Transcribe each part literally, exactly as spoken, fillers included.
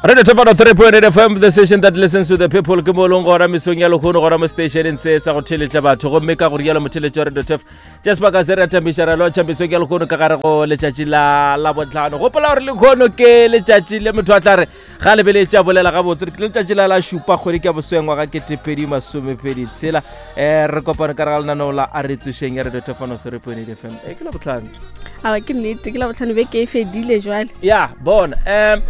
Radio Thapano three point eight F M, the station that listens to the people. Ke mo leng gona mesong ya lekgono gona mo stationeng se sa go theletša batho, gomme ka go rialo motheletši wa Radio Tef tša sebaka se re atamiša ra lotšha mesong ya lekgono ka gare go letšatši la Labotlhano. Gopola gore lekgono ke letšatši le motho a tla re ga lebeletše a bolela gabotse, ke letšatši la la šupa kgwedi ke ya bosweng ngwaga ketepedi masomepedi tshela. um re kopane ka re ga lenaneo la A Re Tsošeng ya Radio Thapano three point eight F M. E ke Labotlhano. Aa, ke nnete, ke Labotlhano, beke e fedile jwale. Ya bona, um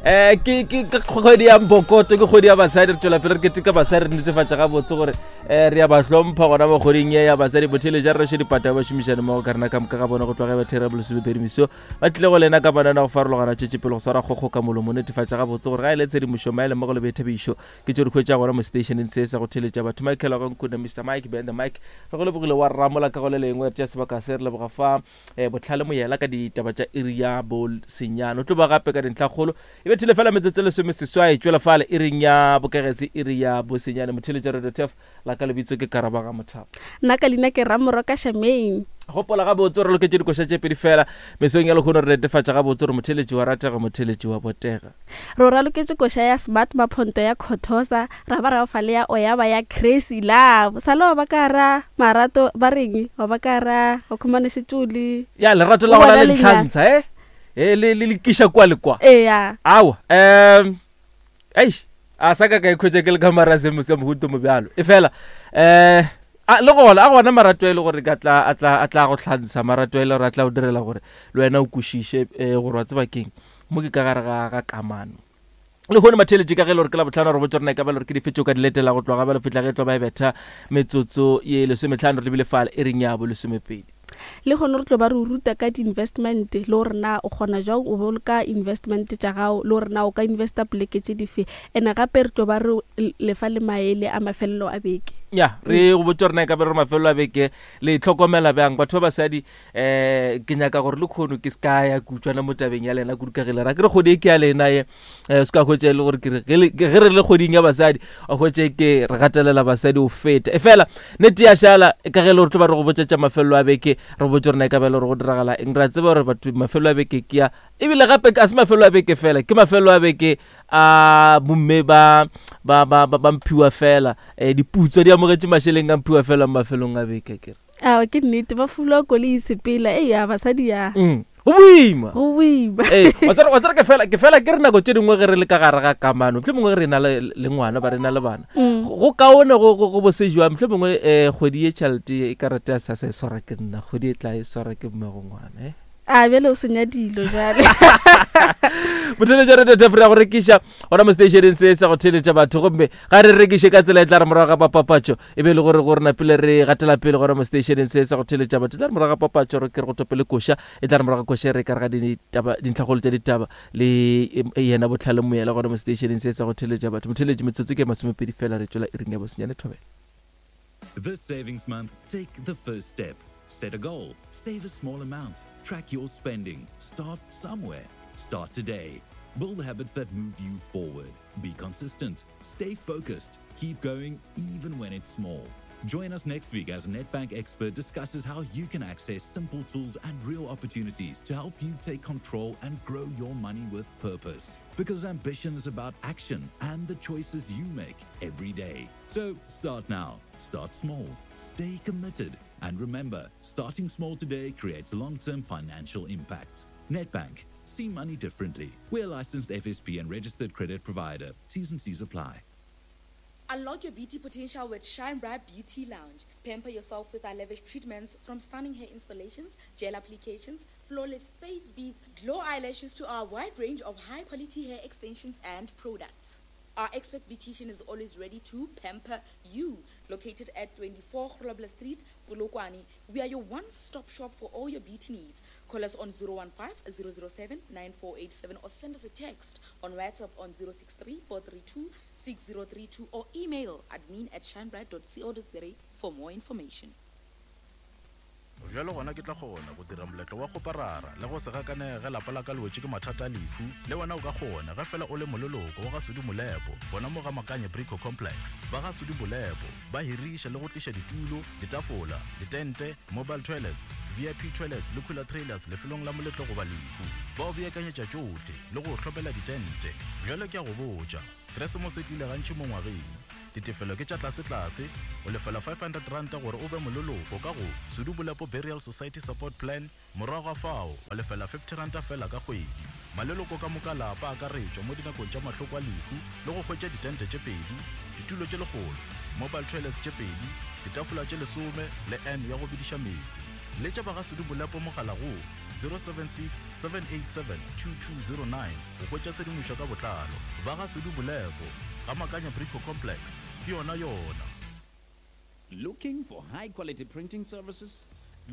eh ke ke ke kgwedi ya mbokoto, ke kgwedi ya basadi. Re tswela pele re keteka basadi, re netefatša gabotse gore um re ya ba hlompha gona mo kgweding ye ya basadi. Botheletša re rešo dipata ba šomišane mmogo ka rena ka moka ga bona go tloga ba thera bolesomepedi meso ba tlile go lena ka manana go farologana tšwetše pele go swara kgokgo ka molomo, netefatša gabotse gore ga e le tshedimošo maele mmogo le boithabišo ke tšo di hwetša gona mo stationeng se sa go theletša batho. Michael wa Nkuna, Mister Mike behind the mic, re go lebogile wa ramola ka go le lengwe. Re tšea sebaka se re leboga fa um Botlhale Moyela ka ditaba tša iri ya bosenyane, o tlo ba gape ka dintlhakgolo e bethile fela metsotso e lesome seswai tšwela fale iring ya bokegetse iri ya bosenyane. Motheletša Radio Tef la ka lebitso ke Karabaga Mothapo. Nna ka leina ke Ramoroka Shamain. Gopola gabotse re loketše dikoša tše pedi fela mesong ya lekgono, re netefatša gabotse gore motheletši wa ratega, motheletši wa botega. Re o raloketše koša ya Smart Maphonto ya Khothosa, ra ba ra fa le ya Oyaba ya Crazy Love. Sale wa ba ka ra marato ba reng wa ba ka ra o khumane šetšole. Ya lerato la O gona bona le lenyalo. ntlhantsha e e le le lekiša kwa le kwa. Eya. Awa, um ei a sa ka ka ikhwetša ke le ka mara semo sa mohuto mo bjalo, e fela um a le gona a gona marato e le gore ka tla a tla a tla go hlantsha, marato e le gore a tla go direla gore le wena o kwešiše um gore wa tseba keng mo ke ka gare ga ga kamano le kgone matheletše. Ka ge e le gore ke la botlhano, re botse rena e ka ba le gore ke dife tšeo ka di letela go tloga ba le fihla ge e tlo ba e betha metsotso ye lesometlhano re lebile fale e reng ya bo lesomepedi. Le gone re tlo ba re o ruta ka di-investment, le gore na o kgona jang o boloka investment tša gago, le gore na o ka investa poleke tše dife. And gape re tlo ba re lefa le maele a mafelelo a beke. Ya, re go botse rena e ka ba re mafelelo a beke le tlhokomela bjang batho ba basadi. um ke nyaka gore le kgono ke se ka ya kutswana mo tabeng ya lena kudu ka ge le ra ke re kgwedi e ke ya lena ye, um se ka hwetša e le gore ke re ge le- ge re le kgweding ya basadi o hwetše ke re gatelela basadi o feta, e fela nnete ya šala ka ge e le gore tlo ba re go botša tša mafelelo a beke, re botse rena e ka ba e le gore go diragala eng. Re a tseba gore batho mafelelo a beke ke ya, ebile gape a se mafelelo a beke fela, ke mafelelo a beke a bomme ba ba ba ba ba mphiwa fela, um diputso di amogetše mašeleng a mphiwa fela mo mafelong a beke kere. Aa, ke nnete, ba fulwa koloi e sepela. Eya, basadi ya. Mm, go boima. Go boima. Ee, wa tseba- wa tseba ke fela ke fela ke re nako tše dingwe ge re le ka gare ga kamano, motlho mongwe re na le le ngwana ba re na le bana, Mm. go go kaone go go go bosejwa motlho mongwe um kgwedi ye tšhelete e karate ya sasa e swara ke nna, kgwedi e tla e swara ke mmego ngwana eh. A bjale o senya dilo jale. Motheletša Radio Tef re ya go rekiša gona mo stationeng se sa go theletša batho, gomme ga re rekiše ka tsela e tla re morago ga papapatšo e be e le gore gore napile re gatela pele gona mo stationeng se sa go theletša batho. E tla re morago ga papatšo re ke re go topele koša, e tla re morago ga koša re ka re ga ditaba dintlhakgolo tša ditaba le e- yena Botlhale Moyela gona mo stationeng se sa go theletša batho. Motheletši, metsotso ke masomepedi fela re tšwela iring ya bosenyane. Thobela. This savings month, take the first step. Set a goal, save a small amount, track your spending. Start somewhere. Start today. Build habits that move you forward. Be consistent. Stay focused. Keep going even when it's small. Join us next week as a Nedbank expert discusses how you can access simple tools and real opportunities to help you take control and grow your money with purpose. Because ambition is about action and the choices you make every day. So start now. Start small. Stay committed. And remember, starting small today creates long term financial impact. Nedbank. See money differently. We're a licensed F S P and registered credit provider. T's and C's apply. Unlock your beauty potential with Shine Bright Beauty Lounge. Pamper yourself with our lavish treatments, from stunning hair installations, gel applications, flawless face beads, glow eyelashes to our wide range of high quality hair extensions and products. Our expert beautician is always ready to pamper you. Located at twenty-four Grobler Street, Polokwane, we are your one-stop shop for all your beauty needs. Call us on zero one five zero zero seven nine four eight seven or send us a text on WhatsApp on zero six three four three two six zero three two or email admin at shinebright dot co dot za for more information. Bjalo gona ke tla kgona go dira moletlo wa kgoparara le go se gakanege ge lapa la ka le wetše ke mathata a lehu. Le wena o ka kgona ge fela o le moleloko wa ga Sudi Molepo gona mo ga Makanye Brico Complex. Ba ga Sudi Molepo ba hiriša le go tliša ditulo, ditafola, ditente, mobile toilets, V I P toilets le cooler trailers lefelong la moletlo goba lehu. Ba o beakanyetša tšohle le go o hlomela ditente. Bjale ke a go botša, Keresemose e tlile gantši mo ngwageng. Ditefelo ke tša tlasetlase, o lefela five hundred ranta gore o be moleloko ka go Sudu Bolepo Burial Society Support Plan, morago ga fao wa lefela fifty ranta fela ka kgwedi. Maleloko ka moka lapa a akaretšwa mo dinakong tša mahloko a lehu le go hwetša ditente tše pedi, ditulo tše lekgolo, mobile toilets tše pedi, ditafola tše lesome le n ya go bediša meetse. Letša ba ga Sudu Bolepo mogala go zero seven six, seven eight seven, two two zero nine go hwetša tshedimošo ka botlalo. Ba ga Sudu Bolepo ga Makanya Brico Complex ke yona yona. Looking for high quality printing services?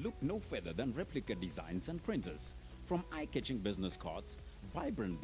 Look no further than Replica Designs and Printers. From eye catching business cards, vibrant